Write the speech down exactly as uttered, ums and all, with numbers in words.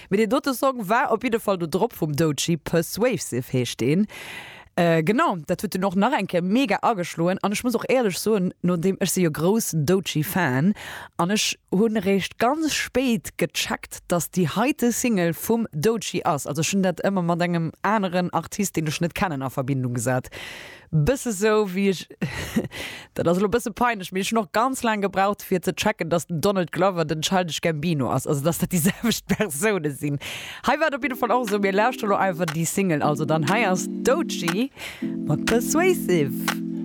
Mee deen dote Song war op jidde Fall do drop vum Doechii, Persuasive heescht deen. Äh, genau, dat huet dunn och nach eng Kéier mega ageschloen an ech muss och éierlech soen, nodeem, ech si jo groussen Doechii-Fan an ech hunn eréischt ganz spéit gecheckt, dass déi heite Single vum Doechii ass. Also ech hunn dat ëmmer mat engem aneren Artist, deen ech net kennen, a Verbindung gesat. Bësse sou wéi ech, dat ass elo bësse peinlech, mee ech hunn och ganz laang gebraucht fir ze checken, dass den Donald Glover den Childish Gambino ass, also dass dat déi selwecht Persoune sinn. Hei war et op jidde Fall och esou. Mir lauschteren elo einfach déi Single. Also dann hei ass Doechii mat Persuasive.